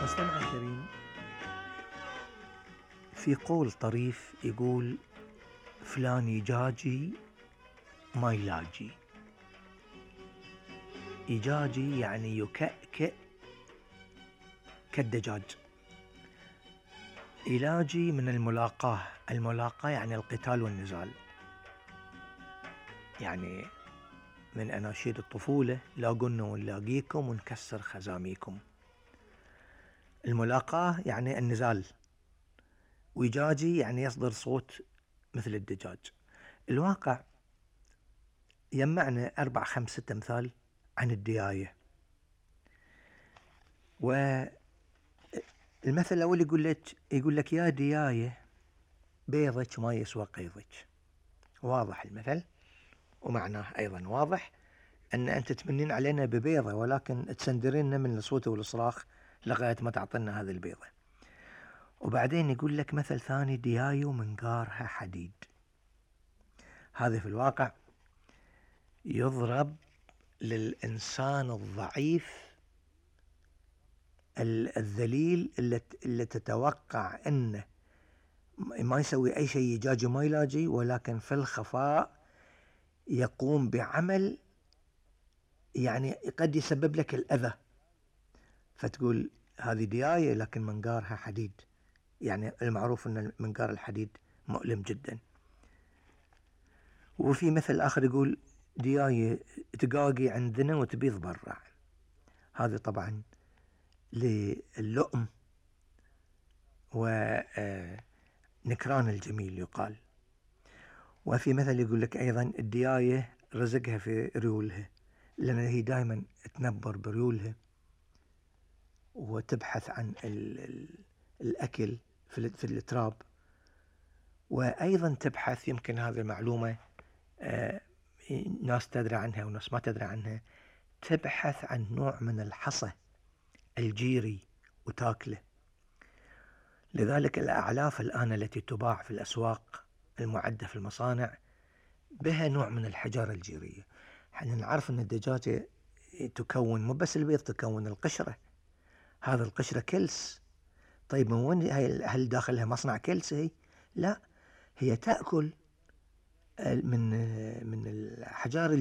مستمع الكريم، في قول طريف يقول: فلان يجاجي ما يلاجي. يجاجي يعني يكأكئ كالدجاج. يلاجي من الملاقاة. الملاقاة يعني القتال والنزال، يعني من أناشيد الطفولة: لاقونا ونلاقيكم ونكسر خزاميكم. الملاقاة يعني النزال، ويجاجي يعني يصدر صوت مثل الدجاج. الواقع يجمعنا 4-5-6 أمثال عن الدياية. والمثل الأول يقول لك: يا دياية بيضك ما يسوى قيضك. واضح المثل، ومعناه أيضا واضح أن أنت تمنين علينا ببيضة، ولكن تسندريننا من الصوت والصراخ لغاية ما تعطينا هذه البيضة. وبعدين يقول لك مثل ثاني: دياية ومنقارها حديد. هذا في الواقع يضرب للإنسان الضعيف الذليل اللي تتوقع أنه ما يسوي أي شيء، يجاجي ما يلاجي، ولكن في الخفاء يقوم بعمل يعني قد يسبب لك الأذى، فتقول هذه دياية لكن منقارها حديد. يعني المعروف أن منقار الحديد مؤلم جدا. وفي مثل آخر يقول: دياية تقاقي عندنا وتبيض برا. هذا طبعا للؤم ونكران الجميل يقال. وفي مثل يقول لك أيضا: الدياية رزقها في ريولها، لأن هي دائما تنبر بريولها وتبحث عن الأكل في التراب. وأيضا تبحث، يمكن هذه المعلومة ناس تدري عنها وناس ما تدري عنها، تبحث عن نوع من الحصى الجيري وتاكله. لذلك الأعلاف الآن التي تباع في الأسواق المعدة في المصانع بها نوع من الحجارة الجيرية. حنا نعرف أن الدجاجة تكون مو بس البيض، تكون القشرة. هذا القشرة كلس. طيب من وين؟ هل داخلها مصنع كلس هي؟ لا، هي تأكل من الحجار